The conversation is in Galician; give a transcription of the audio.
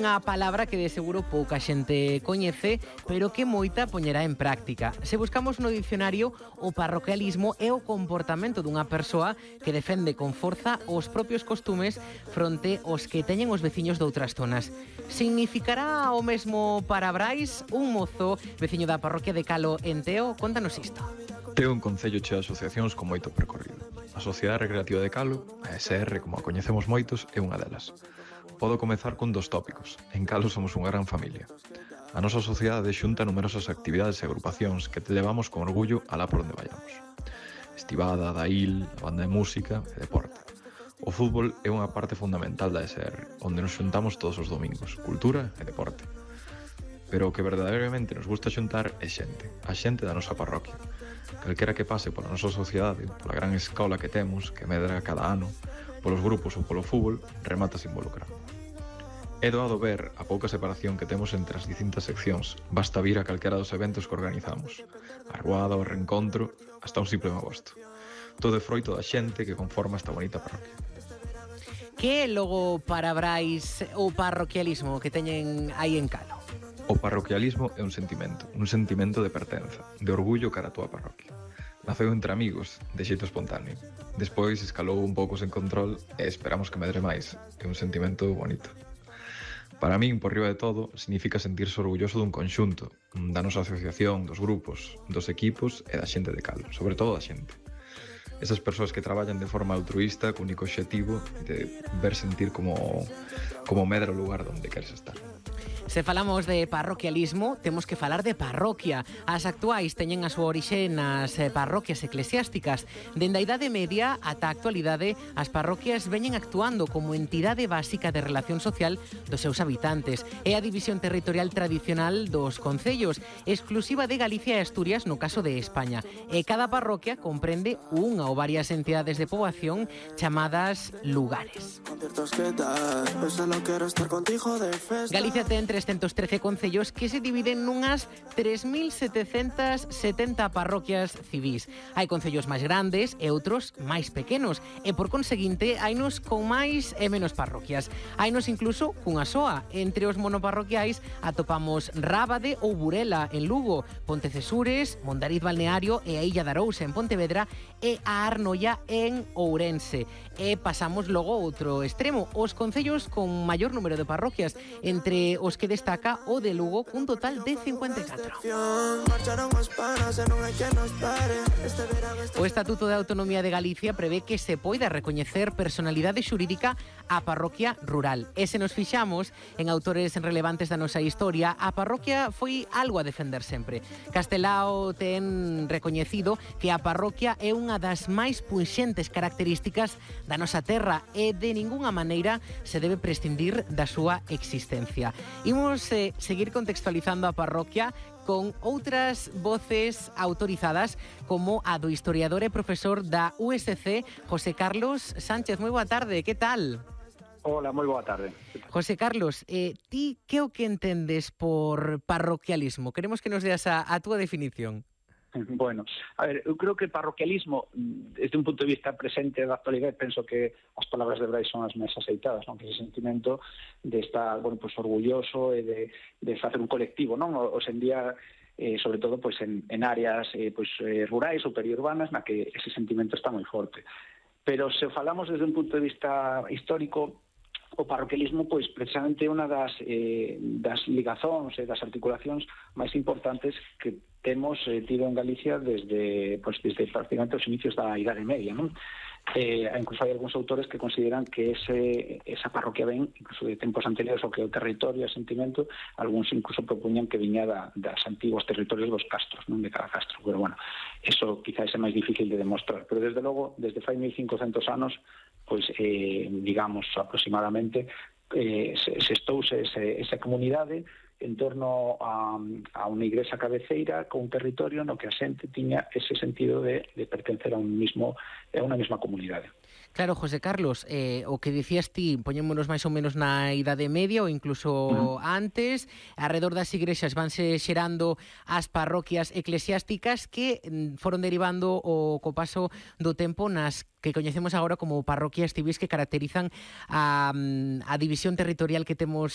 unha palabra que de seguro pouca xente coñece, pero que moita poñerá en práctica. Se buscamos no dicionario, o parroquialismo é o comportamento dunha persoa que defende con forza os propios costumes fronte aos que teñen os veciños doutras zonas. Significará o mesmo para Brais? Un mozo veciño da parroquia de Calo en Teo, contanos isto. Teo é un concello cheo de asociacións con moito percorrido. A Sociedade Recreativa de Calo, a SR, como a coñecemos moitos, é unha delas. Podo comezar cun dos tópicos. En Calo somos unha gran familia. A nosa sociedade xunta numerosas actividades e agrupacións que te levamos con orgullo alá por onde vayamos. Estivada, dail, a banda de música e deporte. O fútbol é unha parte fundamental da SR, onde nos xuntamos todos os domingos, cultura e deporte. Pero o que verdadeiramente nos gusta xuntar é xente, a xente da nosa parroquia. Calquera que pase pola nosa sociedade, pola gran escola que temos, que medra cada ano, polos grupos ou polo fútbol, remata se involucrar. É doado ver a pouca separación que temos entre as distintas seccións, basta vir a calquera dos eventos que organizamos. A ruada, o reencontro, hasta un simple magosto. Todo é froito da xente que conforma esta bonita parroquia. Que é logo para Brais o parroquialismo que teñen aí en Calo? O parroquialismo é un sentimento de pertenza, de orgullo cara a túa parroquia. Naceu entre amigos, de xeito espontáneo. Despois escalou un pouco sen control e esperamos que medre máis. É un sentimento bonito. Para min, por riba de todo, significa sentirse orgulloso dun conxunto, da nosa asociación, dos grupos, dos equipos e da xente de Calo, sobre todo da xente. Esas persoas que traballan de forma altruísta co único obxectivo de ver sentir como medra o lugar onde queres estar. Se falamos de parroquialismo, temos que falar de parroquia. As actuais teñen a súa orixe nas parroquias eclesiásticas. Dende a Idade Media ata a actualidade, as parroquias veñen actuando como entidade básica de relación social dos seus habitantes. É a división territorial tradicional dos concellos, exclusiva de Galicia e Asturias no caso de España. E cada parroquia comprende unha ou varias entidades de poboación chamadas lugares. Galicia ten 313 concellos que se dividen nunhas 3.770 parroquias civís. Hai concellos máis grandes e outros máis pequenos e, por conseguinte, hainos con máis e menos parroquias. Hainos incluso cunha soa. Entre os monoparroquiais atopamos Rábade ou Burela en Lugo, Pontecesures, Mondariz Balneario e a Illa de Arousa en Pontevedra e a Arnoia en Ourense. E pasamos logo a outro extremo, os concellos con maior número de parroquias, entre os que destaca o de Lugo cun total de 54. O Estatuto de Autonomía de Galicia prevé que se poida recoñecer personalidade xurídica á parroquia rural. E se nos fixamos en autores relevantes da nosa historia, a parroquia foi algo a defender sempre. Castelao ten recoñecido que a parroquia é unha das máis punxentes características da nosa terra e de ningunha maneira se debe prescindir da súa existencia. Imos seguir contextualizando a parroquia con outras voces autorizadas como a do historiador e profesor da USC, José Carlos Sánchez. Moi boa tarde, que tal? Hola, moi boa tarde. José Carlos, ti que o que entendes por parroquialismo? Queremos que nos deas a túa definición. Bueno, a ver, eu creo que parroquialismo, desde un punto de vista presente da actualidade, penso que as palabras de Brais son as máis aceitadas, non? Que ese sentimento de estar, bueno, pues orgulloso e de facer un colectivo, non? Hoxe en día, sobre todo, pues en áreas rurais ou periurbanas, na que ese sentimento está moi forte. Pero se falamos desde un punto de vista histórico, o parroquialismo, pois, precisamente unha das ligazóns e das articulacións máis importantes que temos tido en Galicia desde prácticamente os inicios da Idade Media, non? Incluso hai algúns autores que consideran que esa parroquia ven incluso de tempos anteriores ao que é o territorio e o sentimento. Algúns incluso propoñan que viña das antiguos territorios dos castros, non, de cada castro, pero bueno, eso quizás é máis difícil de demostrar, pero desde logo, desde fai 1500 anos, pois, digamos, aproximadamente, se estouse esa comunidade en torno a unha igrexa cabeceira con un territorio no que a xente tiña ese sentido de pertencer a unha mesma comunidade. Claro, José Carlos, o que dicías ti, poñémonos máis ou menos na Idade Media ou incluso antes, arredor das igrexas vanse xerando as parroquias eclesiásticas que foron derivando co paso do tempo nas que coñecemos agora como parroquias civís que caracterizan a división territorial que temos